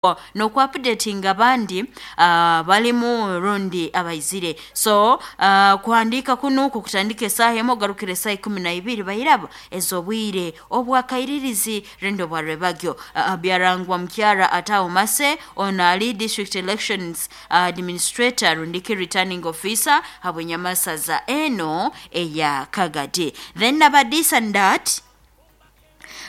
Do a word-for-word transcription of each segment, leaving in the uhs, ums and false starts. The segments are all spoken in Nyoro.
N'oku-updatinga abandi uh, balimu rundi abaizire. So uh, kuhandiika kunu kukutandika esaaha emu ogarukire esaaha ikumi na ibiri bairaba ez'obwire obwakairirizi rundi obwarwebagyo. uh, byarangwa mukyara Ataho Mase, ono ali district elections administrator rundiki returning officer habwenyamasaza eno eya Kagadi. Then abadisa ndat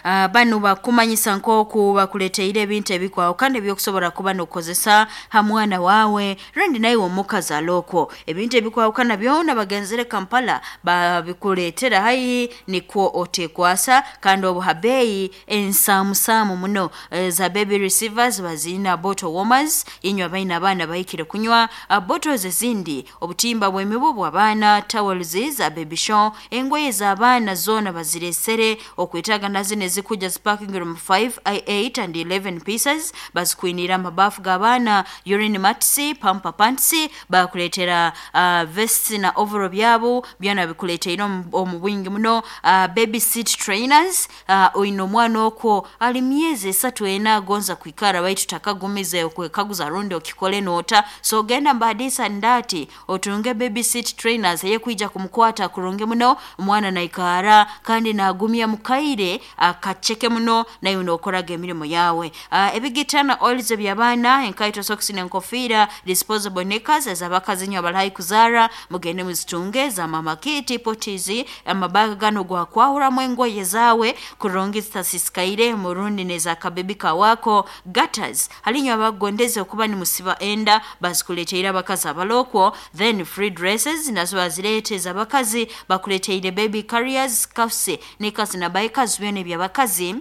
Uh, banu bakumanyisa nk'oku bakuleteire ebintu ebikwahukana ebyokusobora kuba n'okukozesa ha mwana wawe rundi naiwe omukazi alokwo. Ebintu ebikwahukana byona bagenzere Kampala babikuleetera haihi, nikwo otekwasa, kandi obu ha beeyi ensaamusaamu muno. Za baby receivers baziina, bottle warmers inywe abaine abaana bahikire kunywa, uh, bottles ezindi, obutimba bw'emibu bw'abaana, towels za baby show, engoye z'abaana zoona baziresere okwetaaga, nazino ezikuja zipakingire mu five, eight and eleven pieces, bazikwinira amabafu g'abaana, urine mats, pamper pants, bakuleetera uh, vests na overall byabo byona bikuleteire omu bwingi muno. uh, baby seat trainers, uh, oine omwana okwo ali myezi esatu ena agonza kwikara baitu takagumize okwekaguza rundi okikole noota, so genda mbadisa ndati otunge baby seat trainers eyekwija kumukwata kurungi muno omwana naikara kandi nagumya mukaire akaceke muno naiwe nokoraga emirimo yawe. uh, ebigitana oils eby'abaana, enkaito, socks n'enkofiira, disposable knickers ez'abakazi nyo abali kuzaara, mugende muzitunge za mama kiti potis, amabaga gano gwakwahuramu engoye zawe kurungi zitasisikaire murundi neza kabebi kawako, gutters halinyo abagondeze okuba nimusiba enda, bazikuleteire abakazi abalokwo. Then free dresses nazo bazirete ez'abakazi, bakuleteire baby carriers, scarves, knickers na bikers, byona eby'abakazi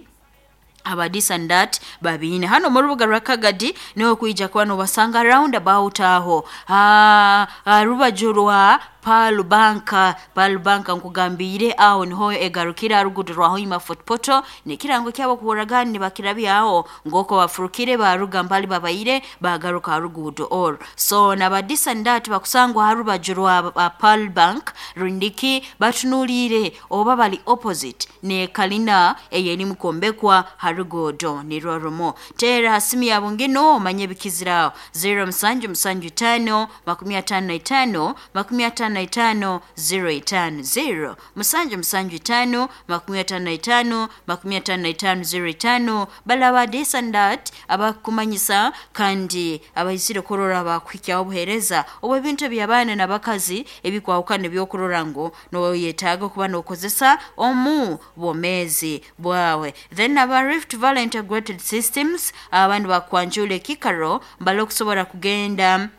abadisa ndat babiine hano mu rubuga rwa Kagadi, niho kwija kuba nobasanga round about aho ha rubaju rwa Pearl Bank. Pearl Bank nkugambire aho niho egarukira rugudo rwa Hoima Fort Portal, nekirango kyabo kuhuragani bakirabyaho ngoko bafurukire baruga mbali babaire bagaruka rugudo or so. Nabadisa ndat bakusangwa harubaju rwa Pearl Bank rundiki batunulire oba bali opposite ne kalina eyeri mukombekwa harugodo nirwo rumo. Tera hasimu yabo ngino omanye bikiziraho zero musanju musanju tano makumi atano na itano makumi atano na itano zero itano, zero musanju musanju tano makumi atano na itano makumi atano na itano zero itano. Balaba desandat abakumanyisa kandi abaizire kurora bakuhikyaho obuheereza obw'ebintu eby'abaana n'abakazi ebikwahukana ebyokurora ngu noyetaaga kuba nokozesa omu bwomeezi bwawe. Then aba Rift Valley Integrated Systems abandi bakwanjula ekikaro mbali okusobora kugenda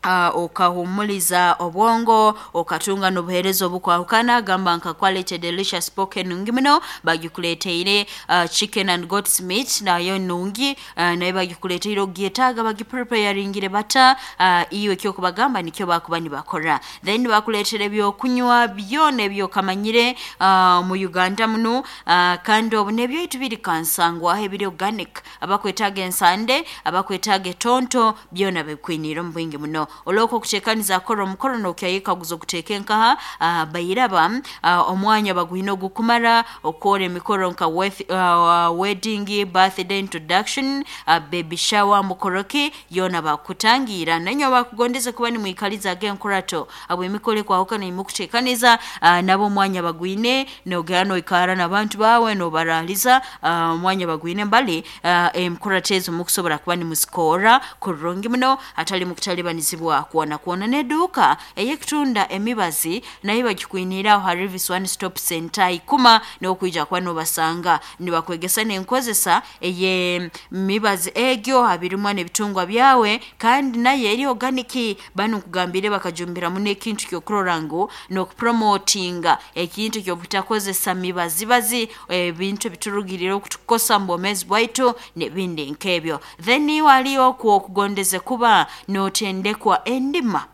Uh, okahumuliza obwongo okatunga n'obuheereza obukwahukana, gamba nka quality delicious pork nungi muno bagikuleteire, uh, chicken and goat's meat nayo nungi, uh, nayo bagikuleteire ogyetaaga bagipreparingire bata, uh, iwe kyokubagamba nikyo bakuba nibakora. Then bakuleetera ebyokunywa byona ebyokamanyire uh, mu Uganda muno, uh, kandi obu nebyaitu biri kansangwaho ebiri organic, abakwetaaga ensande, abakwetaaga etonto, byona bikwinire omu bwingi muno. Olwoko okutekaniza akora omukoro nokyayekaguza okuteeka enkaha, uh, bairaba uh, omwanya baguhina ogukumara okukora emikoro nka with, uh, wedding, birthday, introduction, uh, baby shower, mukoroki yona bakutangira. Nanywe bakugondeze kuba nimwikaliza ag'enkurato abo emikoro ekwahukana nimukutekaniza, uh, nabo omwanya bagwine nogera noikara n'abantu bawe nobaraliza, omwanya uh, bagwine mbali uh, emikurato ezo mukusobora kuba nimuzikora kurungi muno atali mukutalibanizibwa kuona kuona. N'eduuka ey'ekutunda emibazi nayo bagikwiniraho ha Rivis One Stop Center ikuma n'okwija kuba nobasanga nibakwegesa n'enkozesa ey'emibazi egyo habirimwa n'ebitungwa byawe, kandi nayo eri organic. Banu nkugambire bakajumbiramu n'ekintu ky'okurora ngu n'okupromotinga ekintu ky'obutakozesa mibazibazi, ebintu ebiturugirire okutukosa mu bwomeezi bwaitu n'ebindi nk'ebyo. Then waliyo okwo okugondeze kuba notendekwa endima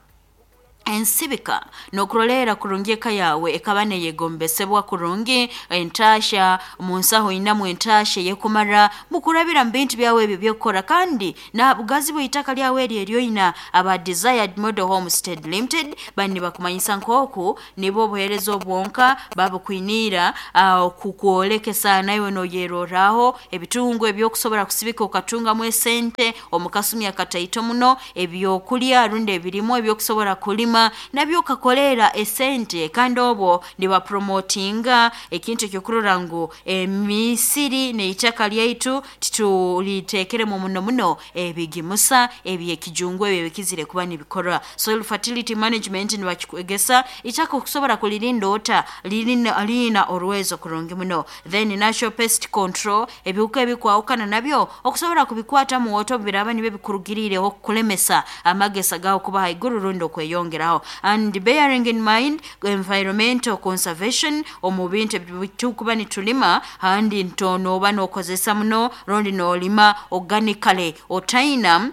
Ensibika nokurolera kurungi eka yawe ekaba neyegombesebwa kurungi entasha munsaho inamu entasha yekumara mukurabira mbintu byawe ebyo byokora kandi na bugazi bw'itaka lyawe eri eryoina. Aba Desired Model Homestead Limited bani bakumanyisa nkoku nibo obuhereza obwonka babukwinira uh, kukwolekesa nawe noyeroraho ebitungo ebyokusobora kusibika okatungamu esente omukasumi akataito muno, ebyokulya rundi ebirimu ebyokusobora kulima nabyo kakolera esente, kandi obwo nibapromotinga ekintu ekyokurora ngu emisiri neitaka lyaitu titulitekere muno muno ebigimusa ebyekijungu ebyo bikizire kuba nibikora. Soil fertility management nibakikwegesa itaka okusobora kulirinda ota lirina lina orwezo kurungi muno. Then natural pest control, ebihuka ebikwahukana nabyo okusobora kubikwata mu oto biraba nibe bikurugirire okulemesa amagesa gawo kuba haiguru rundi okweyongeraho. And bearing in mind environmental conservation omu bintu ebitukuba nitulima handi ntonoba nokozesa muno rundi nolima organically otaina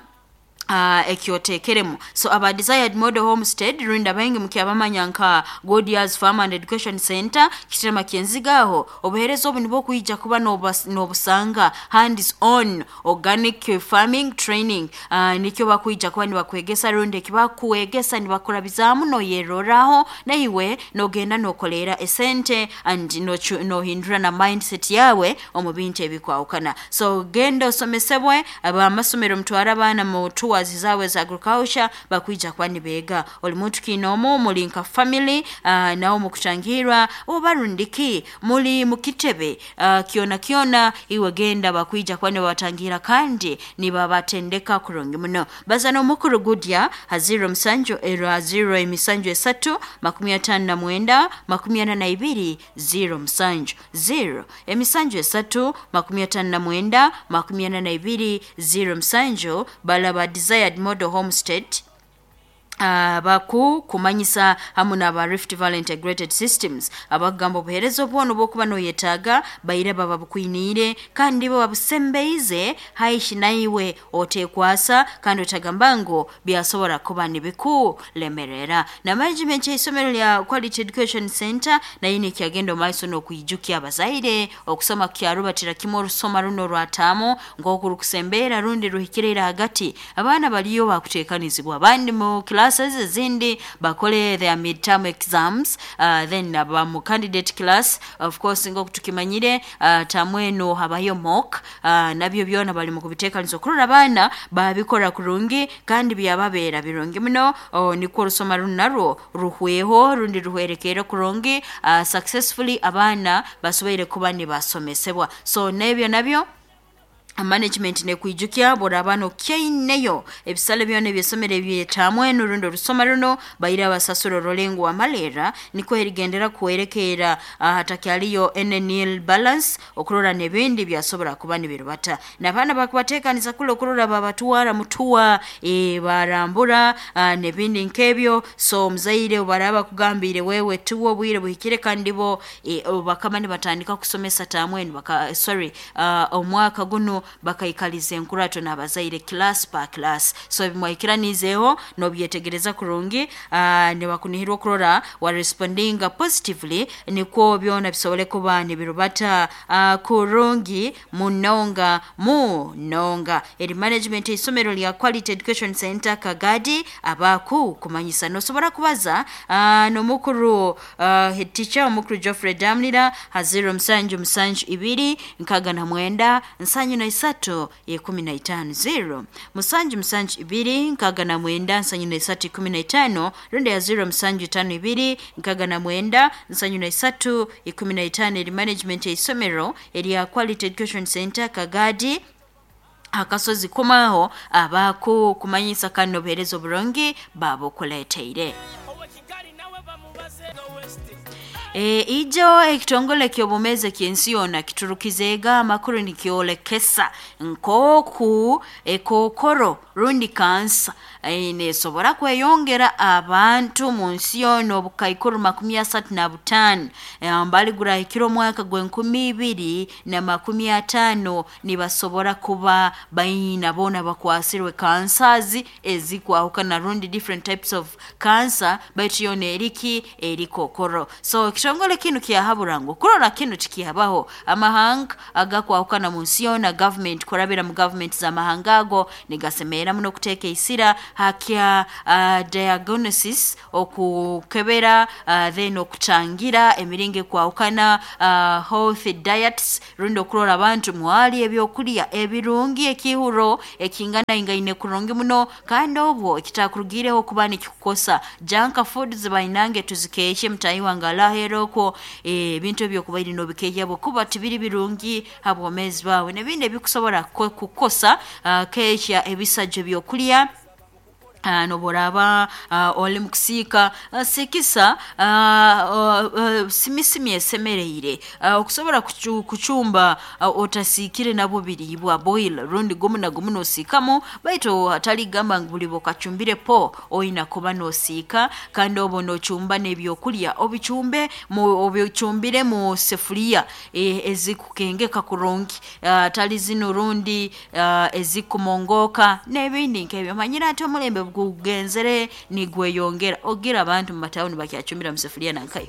Uh, ekyotekeremu. So aba Desired Model Homestead rundi abaingi mukyabamanya nka Godias Farm and Education Center Kitema Kyenzigaho, obuhereza obu nibwo kuija kuba n'obusanga hands on organic farming training uh, nikyo bakuija kuba nibakwegesa rundi ekibakuwegesa nibakurabizamu noyeroraho naiwe nogenda nokolera esente and nohindura na mindset yawe omu bintu ebikwahukana. So genda osomesebwe abamasomero mutwara abaana mu tours zawe za agriculture bakwija kuba nibega oli muntu kinomo muli nka family uh, nawo mukuchangirwa obarundiki muli mukitebe uh, kiona kiona iwe genda bakwija kuba nibatangira kandi nibabatendeka kurungi muno. Bazana omukuru Gudya haziro musanju era zero emisanju esatu makumi atano na mwenda makumi ana na ibiri zero musanju zero emisanju esatu makumi atano na mwenda makumi ana na ibiri zero musanju. Balaba Desired Model Homestead Uh, baku kumanyisa hamu na Rift Valley Integrated Systems abagamba obuhereza obwono bwokuba noyetaaga baire baba bukwiniire kandi bo babusembeize haishi naiwe otekwasa kandi otagamba ngu byasobora kuba nibikulemerera. Na management y'isomero lya Quality Education Center nayo nikyagenda maiso n'okwijukia abazaire okusoma kyarubatira kimwe orusoma runo rwatamu ng'okurukusembera rundi ruhikirira hagati abaana baliyo bakuteekanizibwa abandi mu classes ezindi bakole their midterm exams uh, then abamu candidate class of course ngokutukimanyire uh, tamweno habayo mock uh, nabyo byona bali mu kubiteekaniza okurora abaana babikora kurungi kandi byababeera birungi muno. Oh, nikwo orusoma runo narwo ruhweho rundi ruhwerekere kurungi uh, successfully abaana basoboire kuba nibasomesebwa. So nebyo nabyo management nekwijukia borabano kyaineyo ebisale byona ebyesomero ebyetamwe n'urundo rusoma runo baira abasasuro rolengo amalera niko erigendera kuwerekera hatakyaliyo nil balance okurora nebindi byasobora kuba nibirubata n'abaana bakubateekaniza kule okurora babatwara mutuwa e, barambura nebindi nkebyo. So muzaire obaraba kugambire wewe tuwo bwire buhikire kandi bo e, bakama nibatandika kusomesa tamwe baka sorry uh, omwaka guno bakaikaliza enkurato n'abazaire class pa class. So bimwikiranizeho nobyetegereza kurungi uh, nibakunihirwa okurora wa respondinga positively nikwo byona bisobole kuba nibirubata uh, kurungi munonga munonga. Eri management isomero lya Quality Education Center Kagadi abaku kumanyisa nosobora kubaza uh, nomukuru uh, head teacher omukuru Geoffrey Damlira haziro musanju musanju ibiri nkaga na mwenda nsanyu na isatu ikumi na itano zero musanju musanju ibiri nkaga na mwenda nsanyu na isatu ikumi na itano rundi ya zero musanju tano ibiri nkaga na mwenda nsanyu na isatu ikumi na itano. Eri management ya isomero eri Quality Education Center Kagadi akasozi kumaho abaku kumanyisa kano buherezo burungi babukuleteire. E, ijo ekitongole ky'obumeze ky'ensi yoona kiturukizeega amakuru nikyolekesa nkooku ekookoro rundi kansa e, neesobora kweyongera abantu munsi yoona obukaikuru makumi asatu na butaano mbali gurahikire omwaka gw'enkumi ibiri na makumi ataano nibasobora kuba baina boona bakwasirwe kansazi ezikwahukana rundi different types of cancer, baitu yoona eriki eri kookoro. So ekitongole kinu kyahabura ngu kurora kinu tikihabaho, amahanga agakwahukana munsi yoona, government kurabira mu government z'amahanga ago nigasemerra muno kuteeka isira hakya uh, diagnosis, okukebera, uh, then okutangira emiringo ekwahukana, uh, health diets rundi okurora abantu mwali ebyokulya ebirungi, ekihuro ekinganaingaine kurungi muno, kandi obwo ekitakurugiireho kuba nikikukosa. Junk foods bainange tuzikeehye, mutahi wange alaheera okwo ebintu ebyokubaire noobikeehya habwokuba tibiri birungi ha bwomeezi bwawe, n'ebindi ebikusobora kukukosa. uh, keehya ebisajjo ebyokulya. Uh, nobu oraaba uh, oli mukusiika, uh, siikisa uh, uh, simisimi esemereire, uh, okusobora kucu, kucumba uh, otasiikire nabwo biriibwa boil rundi gumu na gumu noosiikamu, baitu hatali gamba ngu buli bwokacumbire po oina kuba noosiika. Kandi obu noocumba n'ebyokulya obicumbe mu obicumbire mu sefuliya e, ezikukengeka kurungi, atali uh, zinu rundi uh, ezikumongooka n'ebindi nk'ebyo. Omanyire ati omulembe gugenzere nigweyongera, ogira abantu mu matawuni bakyacumbira mu sefuliya nankayo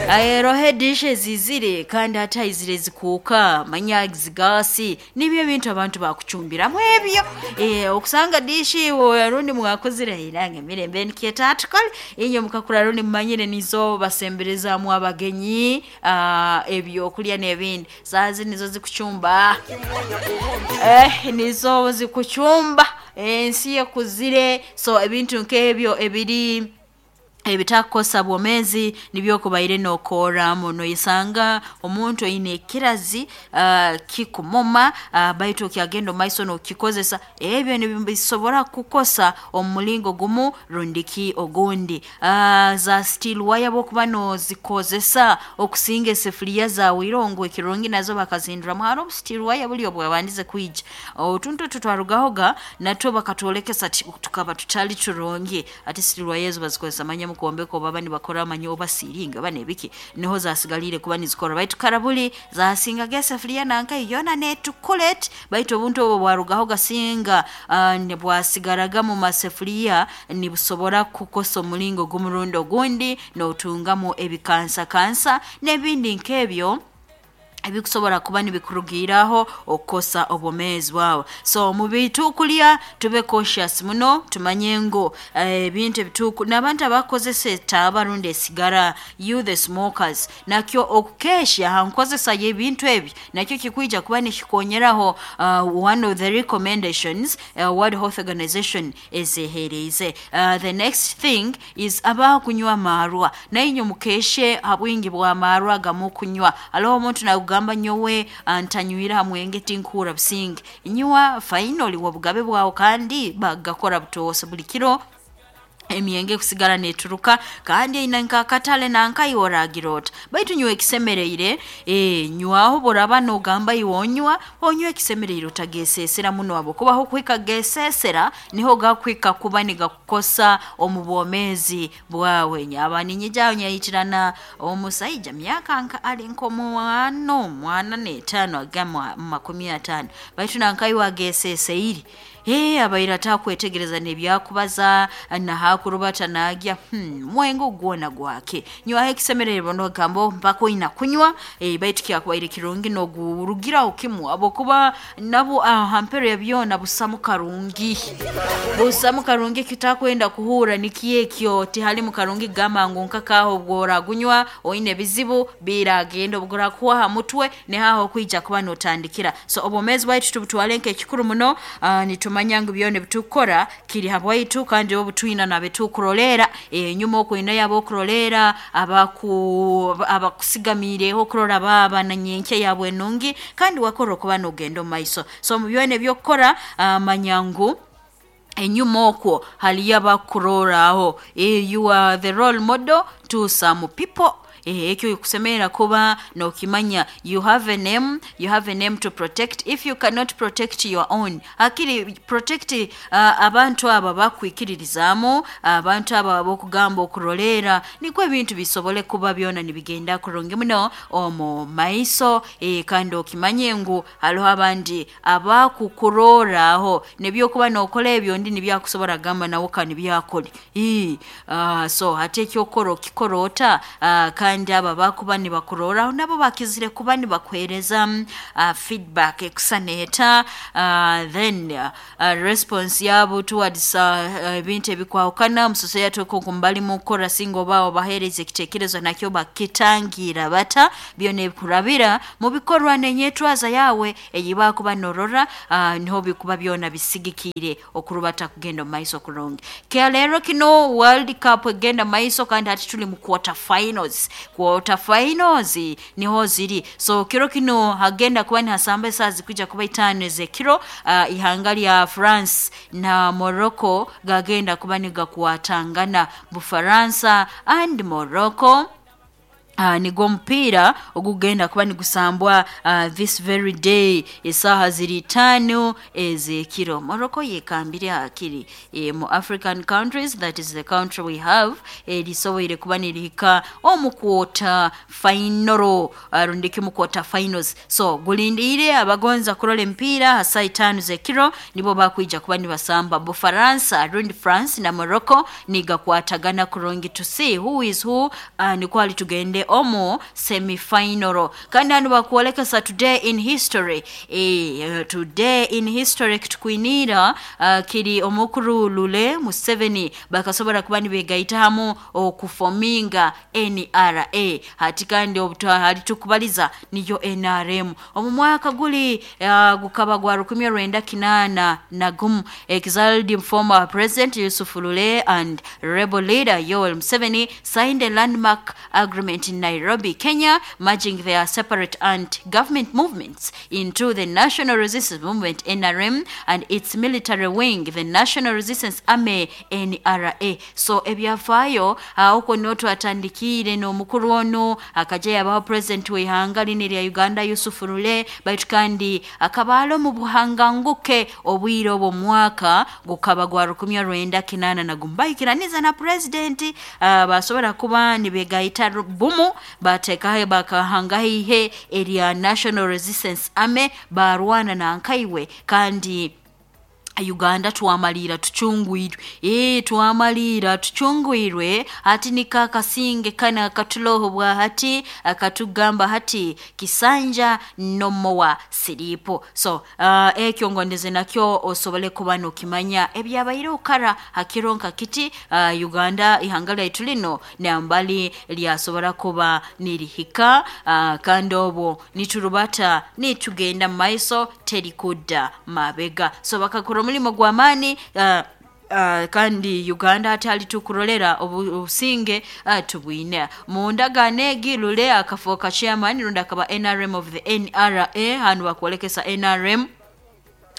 aerohe dishes zizire kandi hati haizire zikuuka manya zigasi, nibyo ebintu abantu bakucumbiramu ebyo. E, okusanga dishi rundi mwakozire nange emirembe nikyeta tukole inye mukakura rundi mumanyire nizo basemberezaamu abagenyi uh, ebyokulya n'ebindi, saazi nizo zikucumba eh, nizo zikucumba ensi ekuzire. So ebintu nk'ebyo ebiri ebitakukosa bwomeezi nibyo okubaire nookorramu. Noyesanga omuntu oine ekirazi uh, kikumoma, uh, baitu okyagenda omumaiso nookikozesa, ebyo nibisobora kukukosa omu mulingo gumu rundi ki ogundi. Uh, za steel wire obwokuba noozikozesa okusinga esefuriya zaawe irongo, ekirungi nazo bakazihinduramu, haroho obu steel wire buli obwabandize kwija, otuntu otu twarugahoga natwo bakatwolekesa tukaba tutali turungi. Hati steel wire ezo bazikozesa manya mukwombeka oba nibakora manya oba siiringi oba n'ebiki, niho zasigaliire kuba nizikora, baitu karabuli zasingaga esefuriya nankayo yoona neetukura eti, baitu obuntu obu bwarugaho gasinga uh, bwasigaraga mu masefuriya nibusobora kukukosa omulingo gumu rundi ogundi, nootungamu ebikansa kansa n'ebindi nk'ebyo ebikusobora kuba nibikurugiiraho okukosa obwomeezi bwawe. So mu bitukulya tube cautious muno, tumanye ngu ebintu ebituku n'abantu abakukozesa etaaba rundi esigara, you the smokers, nakyo okukeehya ha nkozesa y'ebintu ebi nakyo kikwija kuba nikikonyeraho. uh, one of the recommendations uh, World Health Organization ezeheeriize. uh, the next thing is abakunywa amaarwa, nainywe mukeeshe ha bwingi bw'amaarwa agamukunywa. Haroho omuntu nagamba nyowe ntanywire ha mwenge tinkuhurra businge. Nywa, fine, oli w'obugabe bwawe, kandi bagakora butoosa buli kiro emyenge kusigara neeturuka kandi eine nk'akatale nankayo oragira ota, baitu nywa ekisemereire. E, nywaho obu oraaba noogamba iwe onywa, onywe ekisemereire, otageeseesera muno habwokuba ahokuhika geeseesera niho gakuhika kuba nigakukosa omu bwomeezi bwawe. Nyaba ninyija nyaitirana omusaija myaka nka ali nk'omwana mwana n'etaano aga mu makumi ataano, baitu nankayo ageeseeseire, ee abaire atakwetegereza n'ebyakubaza nahakurubata naagya hmm, mwenge ogwona gwake. Nywaho ekisemererwa nogamba mpaka oina kunywa, e, baitu kyakubaire kirungi nogurugiraho kimu habwokuba nabwo ha mpero ya byona busamu karungi, busamu karungi kitakwenda kuhurra nikyo ekyo tihalimu karungi kugamba ngu nkakaaho obworagunywa oine ebizibu biragenda obugurakuhwa ha mutwe nihaho okwija kuba nootandikira. So obwomeezi bwaitu tubutwale nk'ekikuru muno. uh, nitumanya ngu byona ebitukukora kiri habwaitu, kandi obu twina nabetukuroleera enyuma okwineyo ab'okuroleera abaku abakusigamiireho okurora baaba na nyenkya yaabwe enungi, kandi wakora okuba noogenda omu maiso. So mu byona ebyokukora, uh, manya ngu enyuma okwo haliyo abakukurorraho. You are the role model to some people. Ekyo kusemera kuba nokimanya, you have a name, you have a name to protect. If you cannot protect your own, akiri protect uh, abantu aba bakwikiririzaamu, abantu aba abokugamba okurolera, nikwo ebintu bisobole kuba byona nibigenda kurungi muno omu maiso. E, kandi okimanye ngu hariho abandi abakukuroraho nebyokuba nokola ebyo ndi nibyakusobora gamba nawe kandi byakole. E, uh, so hati ekyokora okikora ota, uh, kandi aba bakuba nibakuroraho nabo bakizire kuba nibakuhereza uh, feedback ekusaneta, uh, then uh, response yabo towards ebintu uh, ebikwahukana musosoya toko kumbali mukora singo oba obahereza ekitekerezo nakyo bakitangira bata byona ebikurabira mu bikorwa nenyetwaza yawe eyibakuba norora, uh, niho bikuba byona bisigikire okurubata kugenda maiso kurungi. Kya lero kino World Cup egenda maiso, kandi hati tuli mu quarter finals. Quarter finals niho ziri. So kiro kino hagenda kuba ni hasamba saa zikuja kuba itano ezekiro, uh, ihanga lya France na Morocco gagenda kuba nigakwatangana. Bufaransa and Morocco, Uh, nigo mpira ogugenda kuba nigusambwa uh, this very day esaha ziri tano ezekiro. Morocco yekambire akiri e, mu African countries, that is the country we have, erisoboire kuba nirihika omu quarter final, uh, rundiki mu quarter finals. So gulindire abagonza kurola empira hasa itano zekiro nibo bakwija kuba nibasamba Bufaransa rundi France na Morocco nigakwatagana kurungi to see who is who, uh, nikwali tugende omu semi-final. Kandi hano bakuolekesa today in history, e, today in history kitukwinira uh, kiri omukuru Lule Museveni bakasobora kuba nibegaita hamu okufominga N R A. Hati kandi hali tukubaliza niyo N R M omu mwaka guli uh, gukaba gwa rukumi rwenda kinana na gumu. Exiled former president Yusuf Lule and rebel leader Yoweri Museveni signed a landmark agreement in Nairobi, Kenya, merging their separate anti-government movements into the National Resistance Movement N R M and its military wing, the National Resistance Army N R A. So ebyafaayo huko niho twatandikire n'omukuru ono akaja yabaho president w'ihanga lini lya Uganda Yusuf Lule, baitu kandi akabaalo mu buhanganguke obwire obwo mwaka gukaba gwa rukumi rwenda kinana na gumu. Bahikiraniza na president uh, basobora kuba nibegaita bumu batekahe bakahangahihe erya National Resistance Army barwana na nkaiwe kandi Uganda twamalira tuchungwirwe. Eh twamalira tuchungwirwe hati nikakasinge kana katuloho bwa hati akatugamba hati kisanja nomowa siripo. So uh, ekyo ngondeze nakyo osobole kuba nokimanya ebyabaire okara hakironka kiti uh, Uganda ihanga lyaitu lino nambali lyasobora kuba nirihika, uh, kandi obwo niturubata nitugenda maiso terikudda mabega. So bakakora mulimo gwa amani, uh, Uh, kandi Uganda atali tukurolera obusinge uh, tubwine mundagano egi Lule akafoka chairman runda akaba N R M of the N R A hanu bakwolekesa N R M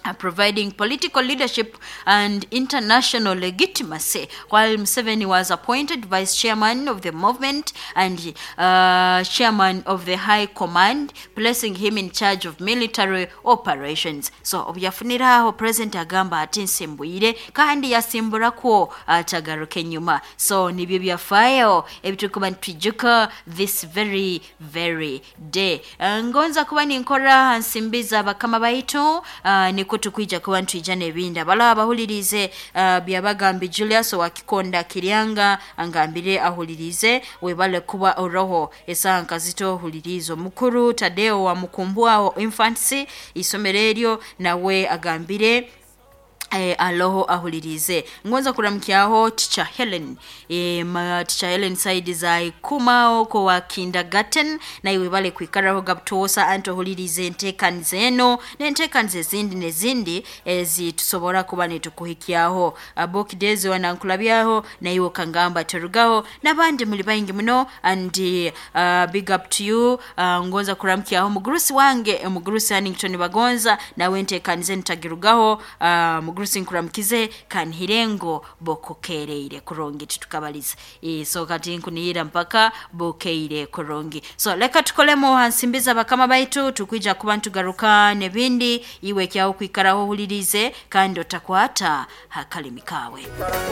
uh, providing political leadership and international legitimacy, while Museveni was appointed vice chairman of the movement and uh, chairman of the high command, placing him in charge of military operations. So obyafuniraho president agamba ati nsimbwire kandi yasimburako atagaruke nyuma. So nibyo byafaayo ebitukuba nitwijuka this very very day. Uh, ngonza kuba ninkora nsimbiza bakama baitu, uh, niko tukwija kuba ntwijana ebindi abala abahulirize uh, byabagambi Julius wakikonda Kiryanga angambire ahulirize webale kuba oroho esanka zito hulirizo mukuru Tadeo wa Mukumbwao Infancy isomero eryo nawe agambire E, aloho ahulirize. Ngonza kuramkiaho Teacher Helen, e, ma, Teacher Helen saidi za ikuma oko wa kindergarten na iwe bale kuikaraho gabtosa anto hulirize ntekanize eno nentekanize zindi nezindi ezitusobora kuba nitukuhikiaho abokidezi wanankulabyaho na iwe kangamba terugaho nabandi muli baingi muno and uh, big up to you. uh, ngonza kuramkiaho mugurusi wange mugurusi Hannington Bagonza nawe ntekanize nitagirugaho. uh, mugurusi Omugurusi, nkuramukize kanhirengo bokukereire kurungi, titukabaliza. E, so kati nkunihira mpaka bukeire kurungi. So leka tukolemo hansimbiza bakama baitu, tukwija kuba ntugaruka nebindi. Iwe kyawo kwikaraho ohulirize kandi otakwata hakalimi kawe.